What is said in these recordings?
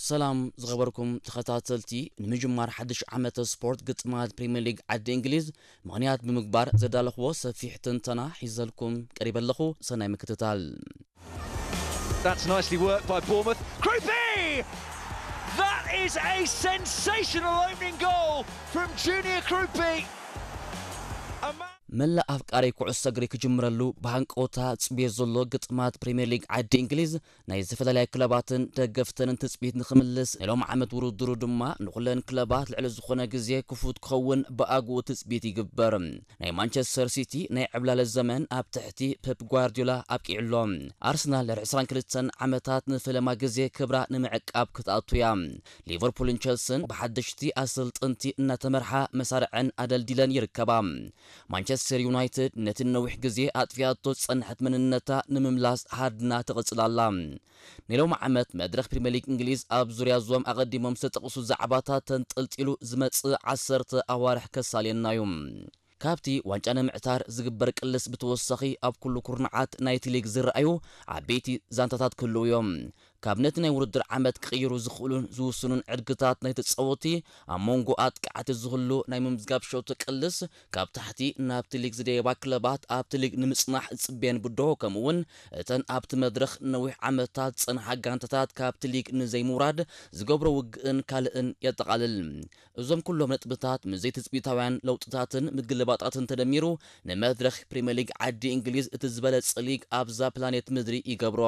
ሰላም ዝኸበርኩም ተኸታተልቲ፣ ንምጅማር ሓድሽ ዓመተ ስፖርት ግጥማት ፕሪምየር ሊግ ዓዲ እንግሊዝ ምኽንያት ብምግባር ዘዳለኽዎ ሰፊሕ ትንተና ሒዘልኩም ቀሪበ ኣለኹ። ሰናይ ምክትታል። That's nicely worked by Bournemouth. Krupi! That is a sensational opening goal from Junior Krupi. A man መላእ ኣፍቃሪ ኩዕሶ እግሪ ክጅምረሉ ብሃንቀውታ ጽብዮ ዘሎ ግጥማት ፕሪምየር ሊግ ዓዲ እንግሊዝ ናይ ዝተፈላለያ ክለባትን ደገፍተንን ትጽቢት ንኽምልስ፣ ናይ ሎም ዓመት ውድድሩ ድማ ንኹለን ክለባት ልዕሊ ዝኾነ ግዜ ክፉት ክኸውን ብኣግኡ ትጽቢት ይግበር። ናይ ማንቸስተር ሲቲ ናይ ዕብላለ ዘመን ኣብ ትሕቲ ፔፕ ጓርዲዮላ ኣብቂዑ ኣሎ። ኣርሰናል ድሕሪ ዕስራን ክልተን ዓመታት ንፈለማ ግዜ ክብራ ንምዕቃብ ክትኣቱ እያ። ሊቨርፑልን ቸልስን ብሓደሽቲ ኣሰልጠንቲ እናተመርሓ መሳርዐን ኣደልዲለን ይርከባ። ማንቸስተር ዩናይትድ ነቲ ነዊሕ ግዜ ኣጥፊኣቶ ዝጸንሐት መንነታ ንምምላስ ሃድና ትቕጽል ኣላ። ናይ ሎሚ ዓመት መድረኽ ፕሪምየር ሊግ እንግሊዝ ኣብ ዙርያ እዞም ኣቐዲሞም ዝተጠቕሱ ዛዕባታት ተንጠልጢሉ ዝመጽእ ዓሰርተ ኣዋርሕ ከሳልየና እዩ። ካብቲ ዋንጫ ንምዕታር ዝግበር ቅልስ ብተወሳኺ ኣብ ኩሉ ኩርናዓት ናይቲ ሊግ ዝረኣዩ ዓበይቲ ዛንታታት ክህልዉ እዮም። ካብ ነቲ ናይ ውድድር ዓመት ክቕይሩ ዝኽእሉን ዝውስኑን ዕድግታት ናይ ተጻወቲ ኣብ መንጎ ኣጥቃዕቲ ዝህሉ ናይ ምምዝጋብ ሸውቲ ቅልስ ካብ ታሕቲ ናብቲ ሊግ ዝደየባ ክለባት ኣብቲ ሊግ ንምጽናሕ ዝጽበየን ብድሆ ከምኡ እውን እተን ኣብቲ መድረኽ ነዊሕ ዓመታት ዝጸንሓ ጋንታታት ካብቲ ሊግ ንዘይምውራድ ዝገብሮ ውግእን ካልእን የጠቓልል። እዞም ኩሎም ነጥብታት ምስ ዘይትጽቢታውያን ለውጥታትን ምግልባጣትን ተደሚሩ ንመድረኽ ፕሪምየር ሊግ ዓዲ እንግሊዝ እቲ ዝበለጸ ሊግ ኣብዛ ፕላኔት ምድሪ ይገብሮ።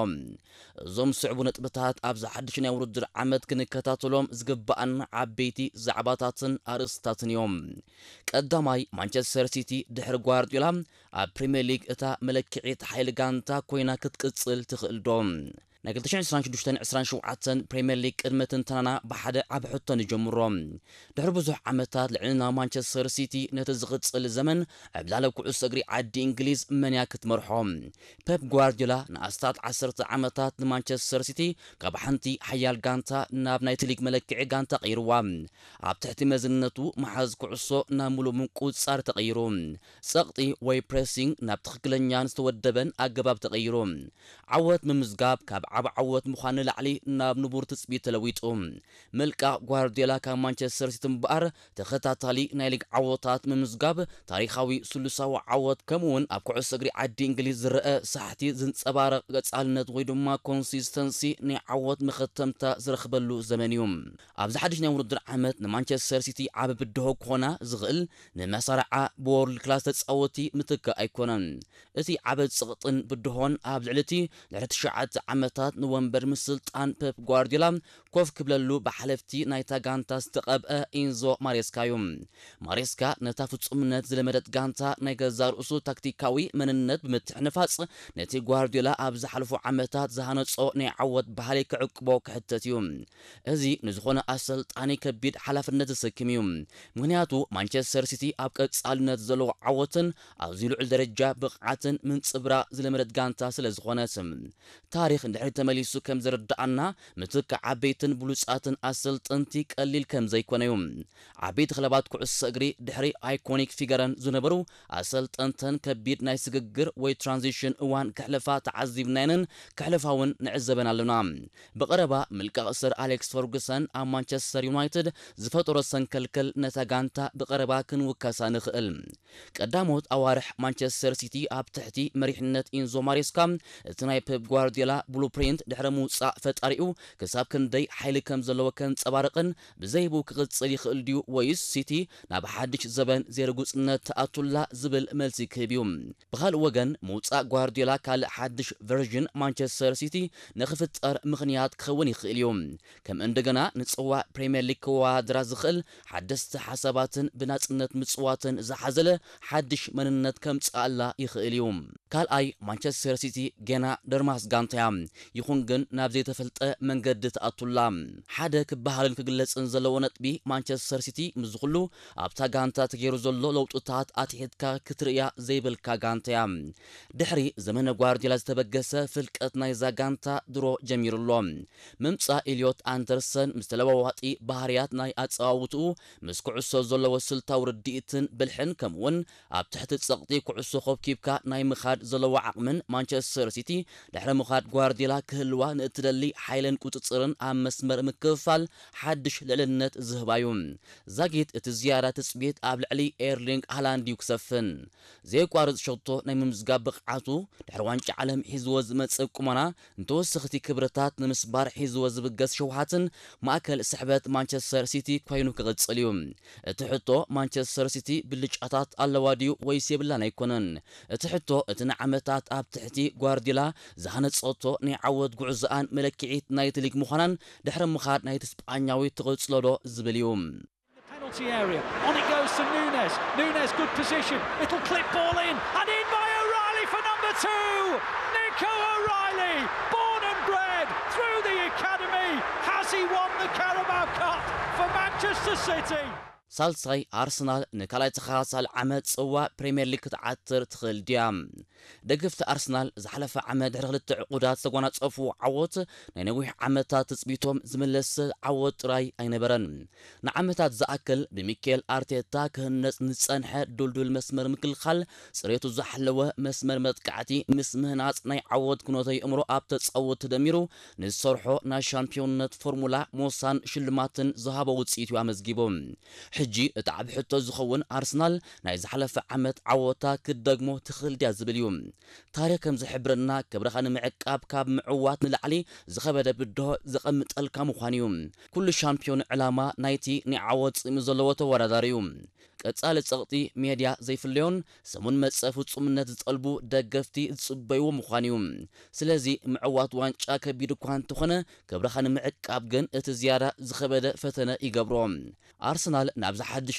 እዞም ዝስዕቡ ነጥብታት ኣብዚ ሓድሽ ናይ ውድድር ዓመት ክንከታተሎም ዝግባኣና ዓበይቲ ዛዕባታትን ኣርእስታትን እዮም። ቀዳማይ፣ ማንቸስተር ሲቲ ድሕሪ ጓርዲዮላ ኣብ ፕሪምየር ሊግ እታ መለክዒት ሓይሊ ጋንታ ኮይና ክትቅጽል ትኽእል ዶ? ናይ ክልተ ሽሕን ዕስራን ሽዱሽተን ዕስራን ሸውዓተን ፕሪምየር ሊግ ቅድመ ትንተናና ብሓደ ዓቢ ሕቶ ንጀምሮ። ድሕሪ ብዙሕ ዓመታት ልዕልና ማንቸስተር ሲቲ ነቲ ዝቕጽል ዘመን ዕብላለ ኩዕሶ እግሪ ዓዲ እንግሊዝ መን እያ ክትመርሖ? ፔፕ ጓርዲዮላ ንኣስታት ዓሰርተ ዓመታት ንማንቸስተር ሲቲ ካብ ሓንቲ ሓያል ጋንታ ናብ ናይቲ ሊግ መለክዒ ጋንታ ቀይርዋ። ኣብ ትሕቲ መዝነቱ መሓዝ ኩዕሶ ናብ ምሉእ ምቁጽጻር ተቐይሩ። ጸቕጢ ወይ ፕሬሲንግ ናብ ትኽክለኛን ዝተወደበን ኣገባብ ተቐይሩ። ዓወት ምምዝጋብ ካብ ዓቢ ዓወት ምዃን ንላዕሊ ናብ ንቡር ትጽቢት ተለዊጡ። ምልቃቕ ጓርዲዮላ ካብ ማንቸስተር ሲቲ እምበኣር ተኸታታሊ ናይ ሊግ ዓወታት ምምዝጋብ፣ ታሪኻዊ ስሉሳዊ ዓወት ከምኡውን ኣብ ኩዕሶ እግሪ ዓዲ እንግሊዝ ዝረአ ሳሕቲ ዝንጸባረቕ ቀጻልነት ወይ ድማ ኮንሲስተንሲ ናይ ዓወት መኸተምታ ዝረኽበሉ ዘመን እዩ። ኣብዚ ሓድሽ ናይ ውድድር ዓመት ንማንቸስተር ሲቲ ዓቢ ብድሆ ክኾና ዝኽእል ንመሳርዓ ብወርልድ ክላስ ተጻወቲ ምትካእ ኣይኮነን። እቲ ዓቢ ጽቕጥን ብድሆን ኣብ ልዕሊ እቲ ድሕሪ ትሽዓተ ዓመታት ንወንበር ምስልጣን ፔፕ ጓርዲዮላ ኮፍ ክብለሉ ብሓለፍቲ ናይታ ጋንታ ዝተቐብአ ኢንዞ ማሬስካ እዩ። ማሬስካ ነታ ፍጹምነት ዝለመደት ጋንታ ናይ ገዛ ርእሱ ታክቲካዊ መንነት ብምትሕንፋጽ ነቲ ጓርዲዮላ ኣብ ዝሓለፉ ዓመታት ዝሃነጾ ናይ ዓወት ባህሊ ክዕቅቦ ክሕተት እዩ። እዚ ንዝኾነ ኣሰልጣኒ ከቢድ ሓላፍነት ዘሰክም እዩ። ምኽንያቱ ማንቸስተር ሲቲ ኣብ ቀጻልነት ዘለዎ ዓወትን ኣብዚ ልዑል ደረጃ ብቕዓትን ምንጽብራቕ ዝለመደት ጋንታ ስለ ዝኾነት። ታሪኽ ንድሕሪት ተመሊሱ ከም ዘረድኣና፣ ምትካእ ዓበይትን ብሉጻትን ኣሰልጠንቲ ቀሊል ከም ዘይኮነ እዩ። ዓበይቲ ክለባት ኩዕሶ እግሪ ድሕሪ ኣይኮኒክ ፊገረን ዝነበሩ ኣሰልጠንተን ከቢድ ናይ ስግግር ወይ ትራንዚሽን እዋን ክሕልፋ ተዓዚብናየንን ክሕልፋ እውን ንዕዘበን ኣለና። ብቐረባ ምልቃቕ ሰር ኣሌክስ ፈርጉሰን ኣብ ማንቸስተር ዩናይትድ ዝፈጠሮ ሰንከልከል ነታ ጋንታ ብቐረባ ክንውከሳ ንኽእል። ቀዳሞት ኣዋርሕ ማንቸስተር ሲቲ ኣብ ትሕቲ መሪሕነት ኢንዞ ማሬስካ እቲ ናይ ፔፕ ጓርዲዮላ ብሉፕሪንት ድሕሪ ምውጻእ ፈጣሪኡ ክሳብ ክንደይ ሓይሊ ከም ዘለዎ ከንጸባርቕን ብዘይብኡ ክቕጽል ይኽእል ድዩ ወይስ ሲቲ ናብ ሓድሽ ዘበን ዘይርጉጽነት ትኣቱላ ዝብል መልሲ ክህብ እዩ። ብኻልእ ወገን ምውጻእ ጓርዲዮላ ካልእ ሓድሽ ቨርዥን ማንቸስተር ሲቲ ንኽፍጠር ምኽንያት ክኸውን ይኽእል እዩ። ከም እንደገና ንጽዋዕ ፕሪምየር ሊግ ክወዳደራ ዝኽእል ሓደስቲ ሓሳባትን ብናጽነት ምጽዋትን ዝሓዘለ ሓድሽ መንነት ከምጽኣላ ይኽእል እዩ። ካልኣይ፣ ማንቸስተር ሲቲ ገና ደርማስ ጋንታ እያ። ይኹን ግን ናብ ዘይተፈልጠ መንገዲ ትኣቱላ። ሓደ ክበሃልን ክግለጽን ዘለዎ ነጥቢ ማንቸስተር ሲቲ ምስዚ ኩሉ ኣብታ ጋንታ ተገይሩ ዘሎ ለውጥታት ኣትሒትካ ክትርእያ ዘይብልካ ጋንታ እያ። ድሕሪ ዘመነ ጓርዲዮላ ዝተበገሰ ፍልቀት ናይዛ ጋንታ ድሮ ጀሚሩ ኣሎ። ምምጻእ ኤልዮት ኣንደርሰን ምስ ተለዋዋጢ ባህርያት ናይ ኣጸዋውትኡ ምስ ኩዕሶ ዘለዎ ስልታዊ ርድኢትን ብልሕን ከምኡውን ኣብ ትሕቲ ጸቕጢ ኩዕሶ ኮብኪብካ ናይ ምኻድ ዘለዎ ዓቕምን ማንቸስተር ሲቲ ድሕሪ ምኻድ ጓርዲዮላ ክህልዋ ንእትደሊ ሓይልን ቁጽጽርን ኣብ መስመር ምክፍፋል ሓድሽ ልዕልነት ዝህባ'ዩ። ዛጊት እቲ ዝያዳ ትጽቢት ኣብ ልዕሊ ኤርሊንግ ሃላንድ እዩ ክሰፍን። ዘየቋርጽ ሸቶ ናይ ምምዝጋብ ብቕዓቱ፣ ድሕሪ ዋንጫ ዓለም ሒዝዎ ዝመጽእ ቁመና፣ ንተወሰኽቲ ክብርታት ንምስባር ሒዝዎ ዝብገስ ሸውሃትን ማእከል ስሕበት ማንቸስተር ሲቲ ኮይኑ ክቕጽል እዩ። እቲ ሕቶ ማንቸስተር ሲቲ ብልጫታት ኣለዋ ድዩ ወይስ የብላን ኣይኮነን። እቲ ሕቶ እቲ ንዓመታት ኣብ ትሕቲ ጓርዲላ ዝሃነጸቶ ናይ ዓወት ጉዕዞኣን መለክዒት ናይቲ ሊግ ምዃናን ድሕሪ ምኻድ ናይቲ ስጳኛዊ ትቕጽሎ ዶ ዝብል እዩ። Penalty area. On it goes to Nunes. Nunes, good position. It'll clip ball in. And in by O'Reilly for number two. Nico O'Reilly, born and bred through the academy. Has he won the Carabao Cup for Manchester City? ሳልሳይ ኣርሰናል ንካልኣይ ተኸታታሊ ዓመት ጽዋ ፕሪምየር ሊግ ክትዓትር ትኽእል ድያ? ደገፍቲ ኣርሰናል ዝሓለፈ ዓመት ድሕሪ ክልተ ዕቑዳት ዝተጓናጸፉ ዓወት ናይ ነዊሕ ዓመታት ትጽቢቶም ዝመለሰ ዓወት ጥራይ ኣይነበረን። ንዓመታት ዝኣክል ብሚኬል ኣርቴታ ክህነጽ ንጸንሐ ዱልዱል መስመር ምክልኻል ጽሬቱ ዝሓለወ መስመር መጥቃዕቲ ምስ ምህናጽ ናይ ዓወት ኩነተ የእምሮ ኣብ ተጻወት ተደሚሩ ንዝሰርሖ ናይ ሻምፒዮንነት ፎርሙላ ሞሳን ሽልማትን ዝሃቦ ውጽኢት እዩ ኣመዝጊቡ። ሕጂ እቲ ዓብ ሕቶ ዝኸውን ኣርሰናል ናይ ዝሓለፈ ዓመት ዓወታ ክትደግሞ ትኽእል ድያ ዝብል እዩ። ታሪኽ ከም ዝሕብረና ክብርኻ ንምዕቃብ ካብ ምዕዋት ንላዕሊ ዝኸበደ ብድሆ ዘቐምጠልካ ምዃን እዩ። ኩሉ ሻምፒዮን ዕላማ ናይቲ ናይ ዓወት ጽምኢ ዘለዎ ተወዳዳሪ እዩ። ቀጻሊ ጸቕጢ ሜድያ ዘይፍለዮን ሰሙን መጸ ፍጹምነት ዝጠልቡ ደገፍቲ ዝጽበይዎ ምዃን እዩ። ስለዚ ምዕዋት ዋንጫ ከቢድ እኳ እንተኾነ ክብርኻ ንምዕቃብ ግን እቲ ዝያዳ ዝኸበደ ፈተነ ይገብሮ። ኣርሰናል ናብዚ ሓድሽ